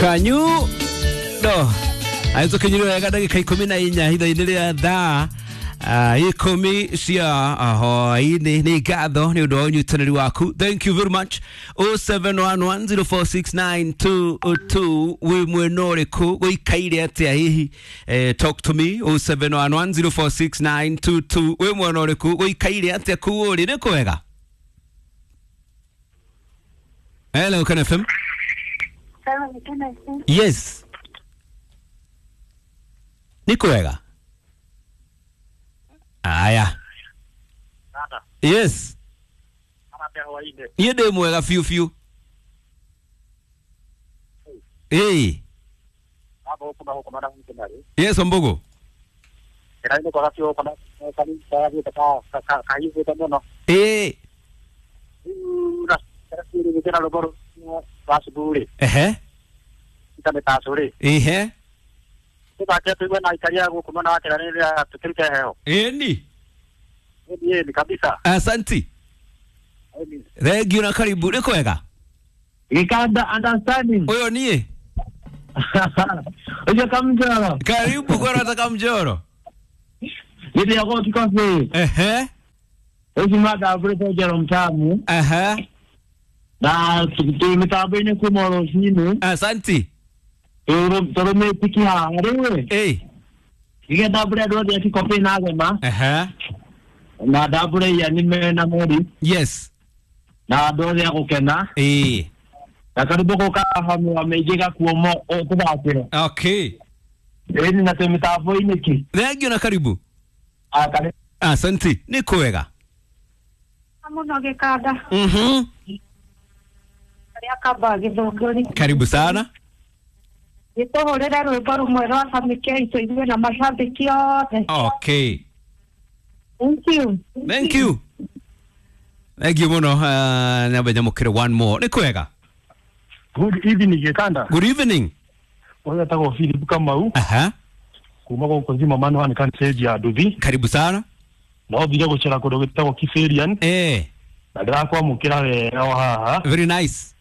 Kanyu no aitũkinyire wega ndagĩka 14 hitho-inĩ rĩa thaa 10 cia hwaĩ-inĩ. Nĩ ngatho nĩ ũndũ wa ũnyitanĩri waku, thank you very much. 0711046922 wĩ mwena ũrĩkũ, gũikaire atĩa hihi? Talk to me 0711046922 wĩ mwena ũrĩkũ, gũikaire atĩa kũu ũrĩ, nĩ kwega? Hello, Ken FM. Yes, nĩ kwega. Aya, yes, niĩ ndĩ mwega biũ biũ. Ĩĩ, yes, Ombogo. Ĩĩ. Ehe. Ehe. Ĩni. Asanti, thank you na karibu. Nĩ kwega? Gikanda understanding. Ũyũ niĩ. Ujo kamjoro. Karibu kwa kamjoro. Gidi yako kikosi. Ehe. Usi mada abure jero mtamu. Ehe. Na mitambo-inĩ kuma rũcinĩ. Asanti. Tũrũmĩtiki haha rĩu. Ĩĩ. Ige ndambũre andũ othe a Kikopĩ na Gema. Ehe. Na ndambũre Ian mena Mori. Yes. Na andũ othe a gũkena. Ĩĩ. Na karibu gũka hamwe wa mĩingĩ gakuomo tũthakĩre. Okay. Ĩni na twĩ mĩtambo-inĩ ki. Thank you na karibu. Karibu. Asanti, nĩ kwega Mũno Gĩkanda. Arĩa kamba Gĩthũngũri. Karibu sana. Gĩtũhũrĩre rwĩmbo rũmwe rwa Samike itũigue na mashabiki othe. Okay. Thank you. Thank you. Thank you mũno. Nyambe nyamũkĩre one more. Nĩ kwega? Good evening, Gikanda. Good evening. Ũyũ etagwo Philip Kamau. Aha. Kuma gũkũ Zimmerman wa nĩ ya nduthi. Karibu sana. No thire gũcera kũndũ gwĩtagwo Kiferian. Eh. Na ndĩrakwamũkĩra wega o haha. Very nice.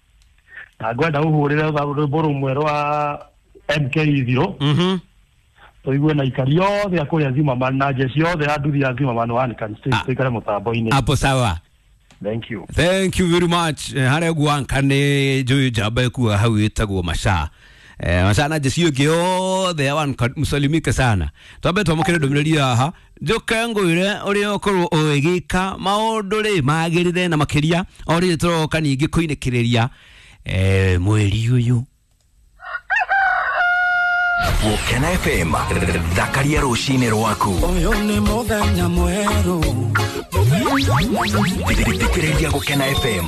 Na ngwenda ũhũrĩre rwĩmbo rũmwe rwa MK Ithiro. Tũigue na ikari othe a kũrĩa Zimmerman na jeshi othe ya nduthi ya Zimmerman wa nĩ tũikare mũtambo-inĩ. Hapo sawa. Thank you. Thank you very much. Harĩa guanka nĩ njũĩ njamba ĩkuaga hau ĩtagwo Maca. Maca na jeshi ĩngĩ yothe ya Wanka, msalimike sana. Twambe twamũkĩre ndũmĩrĩri haha njũke ngwĩre ũrĩa ũkorwo ũgĩka maũndũ rĩ magĩrĩre na makĩria o rĩrĩ tũroka ningĩ kũinĩkĩrĩria mweri ũyũ. Gũkena FM, thakaria rũcinĩ rwaku. Ũyũ nĩ mũthenya mwerũ. Thikĩrĩria Gũkena FM.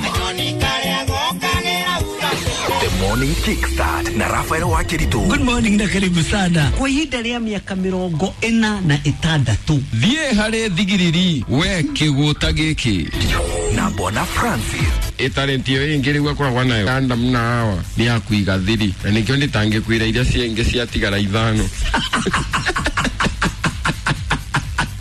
The Morning Kickstart na Rafael Wakiritu. Good morning na karibu sana. Kwa ihinda rĩa mĩaka 46. Thiĩ harĩ thigiriri we kĩgũta gĩkĩ. Na Bwana Francis. Ĩtarĩnti ĩyo ĩngĩ rĩu akoragwo nayo Adam na Hawa nĩ ya kũiga thiri na nĩkĩo ndĩtangĩkwĩra iria ciengĩ ciatigara 5.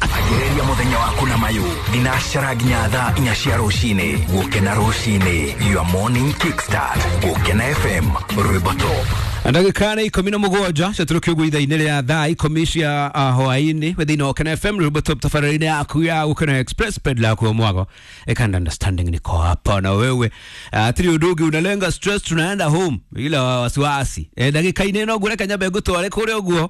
Ambĩrĩria mũthenya waku na mayũ thinacara nginya thaa 4 cia rũcinĩ. Gũkena rũcinĩ, your morning kickstart. Gũkena FM, rwĩmbo top. Ndagĩka nĩ 17 ciatũrũkio ũguo ithaa-inĩ rĩa thaa 10 cia hwaĩ-inĩ wĩ thĩinĩ wa Gũkena FM rwĩmbo top tabarĩra-inĩ yaku ya Gũkena Express pedla yaku ya mwago Ikanda understanding niko hapa na wewe. Tiri ũndũ ũngĩ unalenga stress, tunaenda home bila wasiwasi. Ndagĩka-inĩ ĩno ngũreka nyambe ngũtware kũrĩa ũguo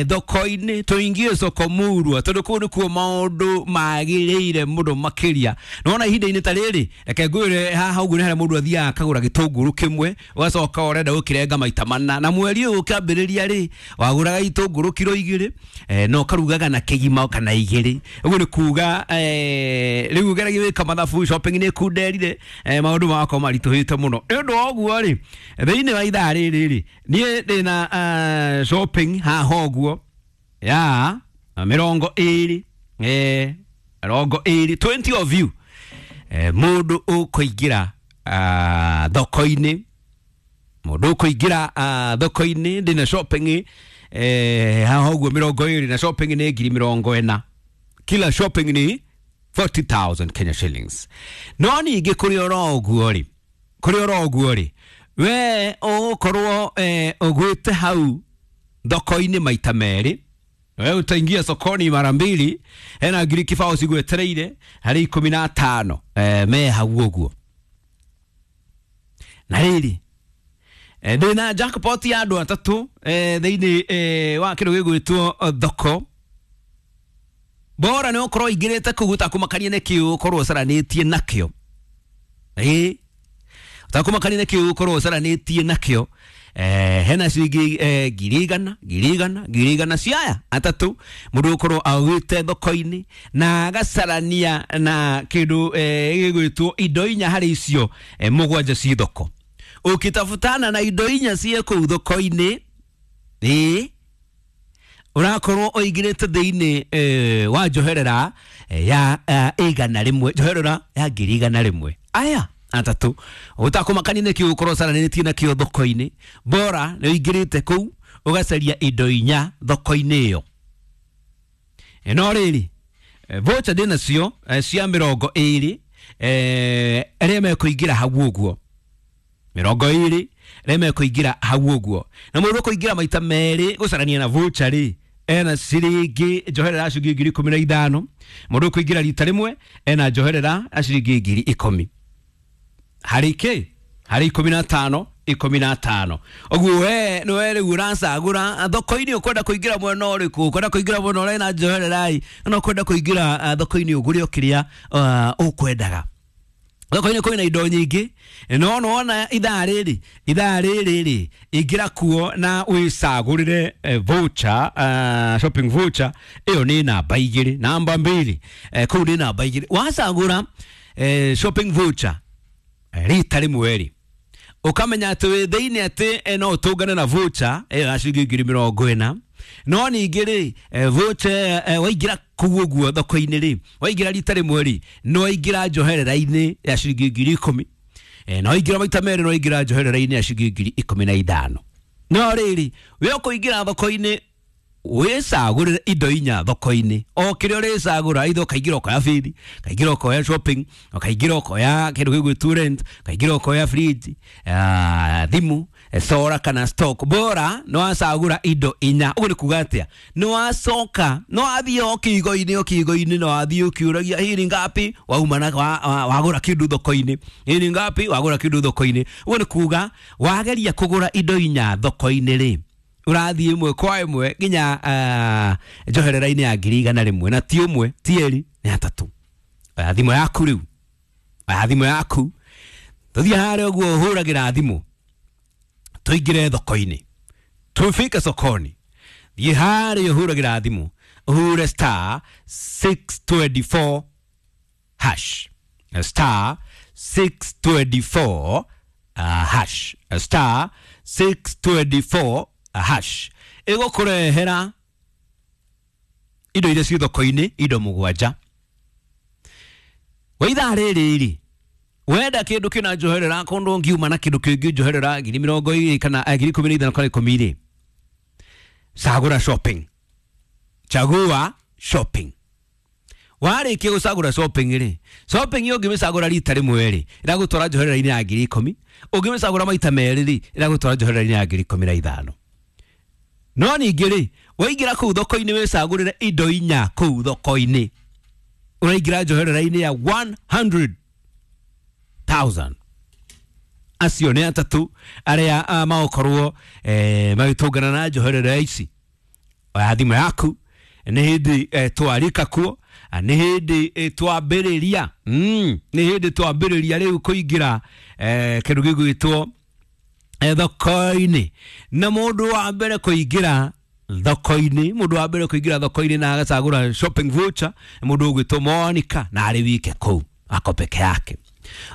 thoko-inĩ, tũingie soko murwa tondũ kũu nĩkuo maũndũ magĩrĩire mũno makĩria. Nĩwona ihinda-inĩ ta rĩrĩ, reke ngwĩre haha ũguo nĩ harĩa mũndũ athiaga akagũra gĩtũngũrũ kĩmwe ũgacoka ũrenda gũkĩrenga maita mana, na mweri ũyũ ũkĩambĩrĩria rĩ wagũraga itũngũrũ kiro 2 no ũkarugaga na kĩgima kana 2. Ũguo nĩ kuga rĩu ũgeragia gwĩka mathabu, shopping nĩ ĩkunderire, maũndũ magakorwo maritũhĩte mũno. Nĩ ũndũ wa ũguo rĩ, thĩinĩ wa ithaa rĩrĩ rĩ, niĩ ndĩna shopping haha ũguo ya 20, 20 20 of you. Mũndũ ũkũingĩra thoko-inĩ, mũndũ ũkũingĩra thoko-inĩ ndĩna shopping haha ũguo 20 na shopping nĩ ngiri 40. Kila shopping ni 40,000 Kenya shillings. No ningĩ kũrĩ oro ũguo rĩ, kũrĩ oro ũguo rĩ, We ũgũkorwo ũgwĩte hau thoko-inĩ maita merĩ, we utaingia sokoni mara mbili, hena ngiri kibao cigwetereire harĩ 15 me hau ũguo. Na rĩrĩ ndĩna jackpot ya andũ atatũ thĩinĩ wa kĩndũ gĩgwĩtwo thoko. Bora nĩ ũkorwo ingĩrĩte kũu ũtakũmakania nĩkĩ ũkorwo ũcaranĩtie nakĩo. Ũtakũmakania nĩkĩ ũkorwo ũcaranĩtie nakĩo. Hena ciringi 100,000 100,000 100,000 ciaya atatũ mũndũ ũkorwo augĩte thoko-inĩ na agacarania na kĩndũ gĩgwĩtwo indo inya harĩ icio mũgwanja ci thoko. Ũkĩtafutana na indo inya ciĩ kũu thoko-inĩ, ũrakorwo ũingĩrĩte thĩinĩ wa njoherera ya 100, njoherera ya 100,000. Aya atatũ ũtakũmakania nĩkĩ ũkorwo ũcaranĩtie nakĩo thoko-inĩ, bora nĩ ũingĩrĩte kũu ũgacaria indo inya thoko-inĩ ĩyo. No rĩrĩ voucher ndĩ nacio cia 20 arĩa mekũingĩra hau ũguo, 20 arĩa mekũingĩra hau ũguo. Na mũndũ ũkũingĩra maita merĩ gũcarania na voucher rĩ, ena ciringi njoherera ciringi 15,000. Mũndũ ũkũingĩra rita rĩmwe ena njoherera ciringi 10,000. Harĩ kĩ? Harĩ 15 15. Ũguo we nĩwe rĩu ũracagũra thoko-inĩ ũkwenda kũingĩra mwena ũrĩkũ, ũkwenda kũingĩra mwena ũrĩa na njoherera ĩ, kana ũkwenda kũingĩra thoko-inĩ ũgũre o kĩrĩa ũkwendaga. Thoko-inĩ kwĩna indo nyingĩ, no nĩwona ithaa rĩrĩ, ithaa rĩrĩ rĩ, ingĩra kuo na wĩcagũrĩre voucher, shopping voucher ĩyo nĩ namba 2, namba 2, kũu nĩ namba 2. Wacagũra shopping voucher rita rĩmwe rĩ, ũkamenya atĩ wĩ thĩinĩ atĩ no ũtũngane na voucher ĩyo ya ciringi 40,000. No ningĩ rĩ voucher waingĩra kũu ũguo thoko-inĩ rĩ, waingĩra rita rĩmwe rĩ, no waingĩra njoherera-inĩ ya ciringi 10,000. No waingĩra maita merĩ, no waingĩra njoherera-inĩ ya ciringi 15,000. No rĩrĩ we ũkũingĩra thoko-inĩ wĩcagũrĩre indo inya thoko-inĩ, o kĩrĩa ũrĩcagũra, either ũkaingĩra ũkoya bithi, ũkaingĩra ũkoya shopping, ũkaingĩra ũkoya kĩndũ gĩgwĩtwo rent, ũkaingĩra ũkoya fridge, thimũ, solar kana stock. Bora nĩ wacagũra indo inya. Ũguo nĩ kuga atĩa? Nĩ wacoka, nĩ wathiĩ o kĩigo-inĩ, o kĩigo-inĩ, nĩ wathiĩ ũkĩũragia hii ni ngapi, wauma na wagũra kĩndũ thoko-inĩ, hii ni ngapi, wagũra kĩndũ thoko-inĩ. Ũguo nĩ kuga wageria kũgũra indo inya thoko-inĩ rĩ, ũrathiĩ ĩmwe kwa ĩmwe nginya njoherera-inĩ ya 100,000, na ti ũmwe ti erĩ nĩ atatũ. Oya thimũ yaku rĩu, oya thimũ yaku, tũthiĩ harĩa ũguo ũhũragĩra thimũ, tũingĩre thoko-inĩ, tufike sokoni. Thiĩ harĩa ũhũragĩra thimũ, ũhũre star 624 hash, star 624 hash, star 624 hash. Ĩgũkũrehera indo iria ciĩ thoko-inĩ, indo mũgwanja. Wa ithaa rĩrĩ rĩ, wenda kĩndũ kĩna njoherera kũndũ ũngiuma na kĩndũ kĩngĩ njoherera 20,000 kana 15,000 kana 10 rĩ, cagũra shopping, chagua shopping. Warĩkia gũcagũra shopping rĩ, shopping ĩyo ũngĩmĩcagũra rita rĩmwe rĩ, ĩragũtwara njoherera-inĩ ya 10,000. Ũngĩmĩcagũra maita merĩ rĩ, ĩragũtwara njoherera-inĩ ya 15,000. No ningĩ rĩ, waingĩra kũu thoko-inĩ wĩcagũrĩre indo inya kũu thoko-inĩ, ũraingĩra njoherera-inĩ ya 100,000. Acio nĩ atatũ arĩa magũkorwo magĩtũngana na njoherera ici. Oya thimũ yaku, nĩ hĩndĩ twarika kuo, nĩ hĩndĩ twambĩrĩria, nĩ hĩndĩ twambĩrĩria rĩu kũingĩra kĩndũ gĩgwĩtwo thoko-inĩ. Na mũndũ wa mbere kũingĩra thoko-inĩ, mũndũ wa mbere kũingĩra thoko-inĩ na agacagũra shopping voucher, mũndũ ũgwĩtwo Monica, na arĩ wike kũu ako peke yake.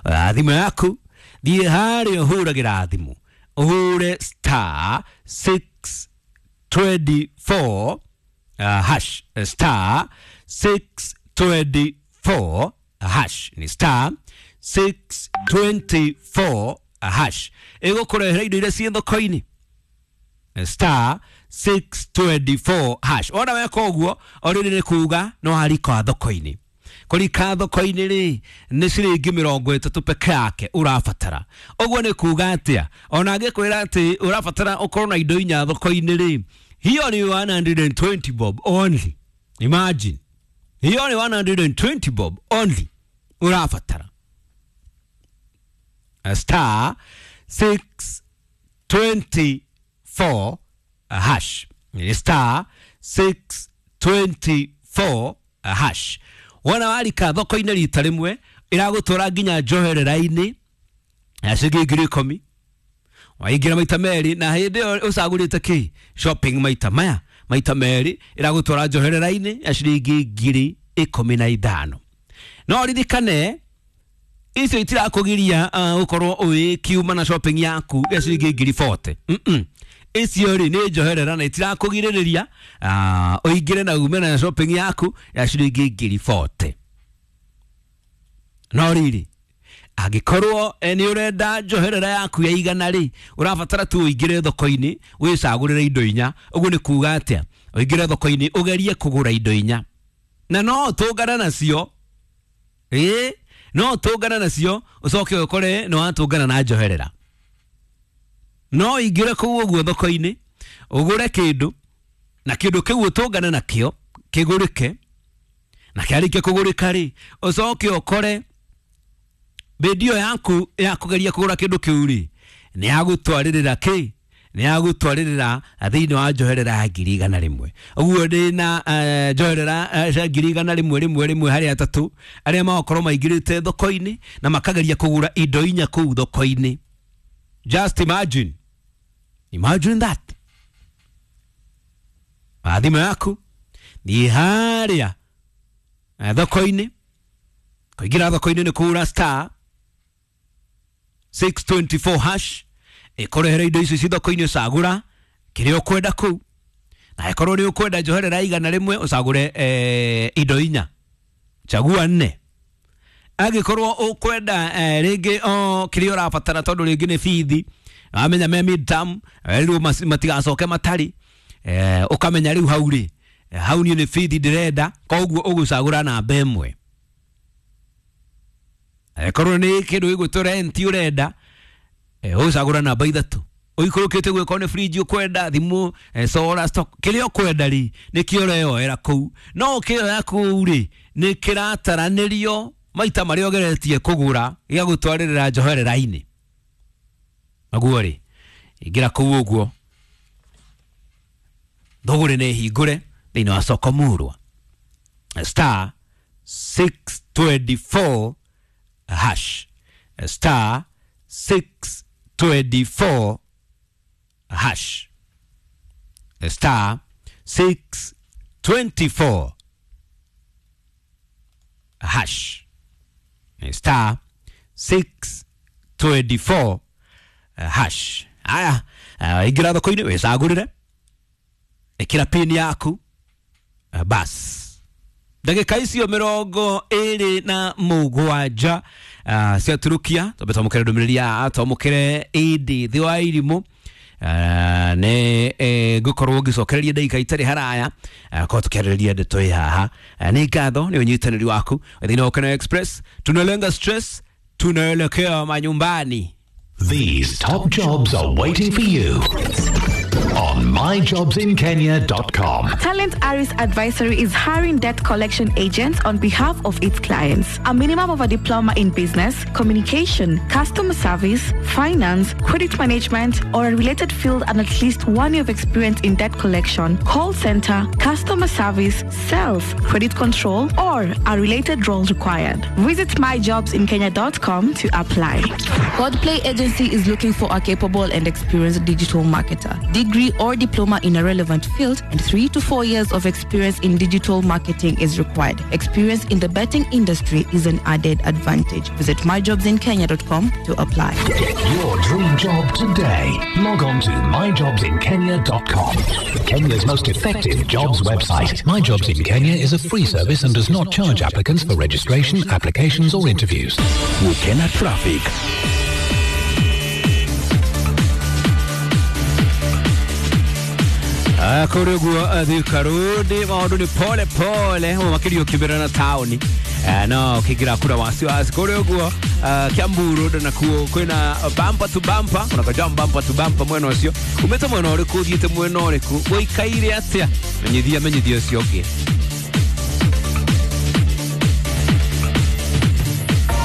Thimũ yaku, thiĩ harĩa ũhũragĩra thimũ, ũhũre star 624 hash, star 624 hash, ni star 624 hash. Ĩgũkũrehera indo iria ciĩ thoko-inĩ, star 624 hash. Wona weka ũguo, already nĩ kuga no harika thoko-inĩ. Kũrika thoko-inĩ rĩ nĩ ciringi 30 peke yake ũrabatara. Ũguo nĩ kuga atĩa? Ona angĩkwĩra atĩ ũrabatara ũkorwo na indo inya thoko-inĩ rĩ, hiyo ni 120 bob only. Imagine, hiyo ni 120 bob only ũrabatara. Star 624 hash, star 624 hash. Wona warika thoko-inĩ rita rĩmwe ĩragũtwara nginya njoherera-inĩ ya ciringi 10,000. Waingĩra maita merĩ, na hĩndĩ ĩyo ũcagũrĩte kĩ shopping maita maya maita merĩ, ĩragũtwara njoherera-inĩ ya ciringi 15,000. No ririkane icio itirakũgiria ũkorwo ũgĩkiuma na shopping yaku ya ciringi 40,000. Icio rĩ nĩ njoherera na itirakũgirĩrĩria ũingĩre na ume na shopping yaku ya ciringi 40,000. No rĩrĩ, angĩkorwo nĩ ũrenda njoherera yaku ya 100 rĩ, ũrabatara tu ũingĩre thoko-inĩ wĩcagũrĩre indo inya. Ũguo nĩ kuga atĩa? Ũingĩre thoko-inĩ ũgerie kũgũra indo inya, na no tũngane nacio. Ĩĩ, no tũngane nacio ũcoke ũkore nĩ watũngana na njoherera. No ingĩre kũu ũguo thoko-inĩ ũgũre kĩndũ, na kĩndũ kĩu ũtũngane nakĩo kĩgũrĩke, na kĩarĩkia kũgũrĩka rĩ, ũcoke ũkore bĩndio yaku ya kũgeria kũgũra kĩndũ kĩu rĩ nĩ yagũtwarĩrĩra kĩ, nĩ yagũtwarĩrĩra thĩinĩ wa njoherera ya 100,000. Ũguo ndĩna njoherera cia 100,000 rĩmwe rĩmwe harĩ atatũ arĩa magakorwo maingĩrĩte thoko-inĩ na makageria kũgũra indo inya kũu thoko-inĩ. Just imagine. Imagine that. Thimũ yaku ni harĩa thoko-inĩ, kũingĩra thoko-inĩ nĩ kũgũra star 624 hash, ĩkũrehere indo icio ci thoko-inĩ, ũcagũra kĩrĩa ũkwenda kũu, na ĩkorwo nĩ ũkwenda njoherera 100 ũcagũre indo inya, chagua 4. Angĩkorwo ũkwenda rĩngĩ o kĩrĩa ũrabatara, tondũ rĩngĩ nĩ bithi, wamenya me midterm rĩu matigacoke matarĩ, ũkamenya rĩu hau rĩ, hau niĩ nĩ bithi ndĩrenda, koguo ũgũcagũra namba 1. Angĩkorwo nĩ kĩndũ gĩgwĩtwo rent ũrenda, ũgũcagũra namba 3. Ũikũrũkĩte gwĩkorwo nĩ fridge ũkwenda, thimũ, solar stock, kĩrĩa ũkwenda rĩ nĩkĩo ũreyoera kũu. No ũkĩoya kũu rĩ nĩ kĩrataranĩrio maita marĩa ũgeretie kũgũra gĩgagũtwarĩrĩra njoherera-inĩ. Naguo rĩ, ingĩra kũu ũguo thũgũrĩ nĩ hingũre thĩinĩ wa soko murwa, star 624 hash, star 624 hash, star 624 hash, star 624 hash. Aya, ingĩra thoko-inĩ wĩcagũrĩre, ĩkĩra pin yaku, bas. Ndagĩka icio 27 ciaturukia, twambe twamũkĩre ndũmĩrĩri ya twamũkĩre ĩndĩ thĩ wa irimũ. Nĩ ngũkorwo ngĩcokereria ndagĩka itarĩ haraya, korwo tũkĩarĩrĩria ndeto ĩ haha. Nĩ ngatho nĩ ũnyitanĩri waku thĩinĩ wa Ũkena Express. Tunalenga stress, tunaelekea manyumbani. These top jobs are waiting for you on myjobsinkenya.com. Talent Aris Advisory is hiring debt collection agents on behalf of its clients. A minimum of a diploma in business, communication, customer service, finance, credit management, or a related field, and at least 1 year of experience in debt collection, call center, customer service, sales, credit control, or a related role required. Visit myjobsinkenya.com to apply. Godplay Agency is looking for a capable and experienced digital marketer. Degree or diploma in a relevant field and 3 to 4 years of experience in digital marketing is required. Experience in the betting industry is an added advantage. Visit myjobsinkenya.com to apply. Get your dream job today. Log on to myjobsinkenya.com. Kenya's most effective jobs website. My Jobs in Kenya is a free service and does not charge applicants for registration, applications or interviews. Gukena Traffic. Kũrĩ ũguo Thika Road maũndũ nĩ pole pole, makirio kĩbĩra na taũni. No ukiingira kura wasiwasi kuri uguo Kiambu Road nakuo kwina bumper to bumper, kuna kajam bumper to bumper mwena ucio. Umete mwena uriku, uthiite mwena uriku, uikaire atia? Menyithia menyithia ucio ungi.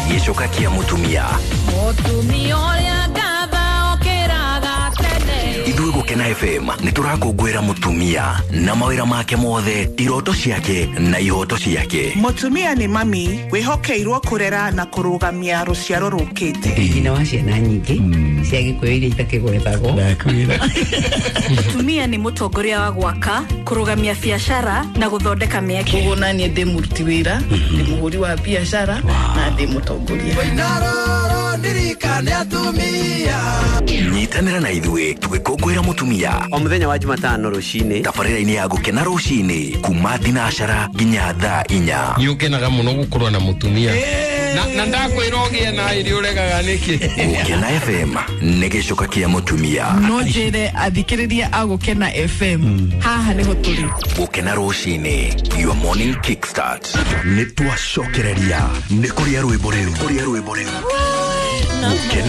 Gĩcoka kĩa mũtumia. Mũtumia ũrĩa ngatha okĩraga tene. Ithuĩ Gũkena FM nĩ tũrakũngũĩra mũtumia na mawĩra make mothe, iroto ciake na ihoto ciake. Mũtumia nĩ mami wĩhokeirwo kũrera na kũrũgamia rũciaro rũkĩte. Nyina wa ciana nyingĩ cia gĩkũyũ iria itakĩgwetagwo. Mũtumia nĩ mũtongoria wa gwaka, kũrũgamia biacara na gũthondeka mĩeke. Koguo naniĩ ndĩ mũruti wĩra, ndĩ mũhũri wa biacara na ndĩ mũtongoria. Nyitanĩra na ithuĩ tũgĩkũngũĩra mũtumia o mũthenya wa Jumatano rũcinĩ tabarĩra-inĩ ya Gũkena rũcinĩ kuma thinacara nginya thaa 4. Nĩ ũkenaga mũno gũkorwo na mũtumia na ndakwĩra ũgĩe na ĩrĩ ũregaga nĩkĩ. Gũkena FM nĩ gĩcoka kĩa mũtumia. No njĩre athikĩrĩria a Gũkena FM haha nĩho tũrĩ. Gũkena rũcinĩ, your morning kickstart. Nĩ twacokereria nĩ kũrĩa rwĩmbo rĩu. Gũkena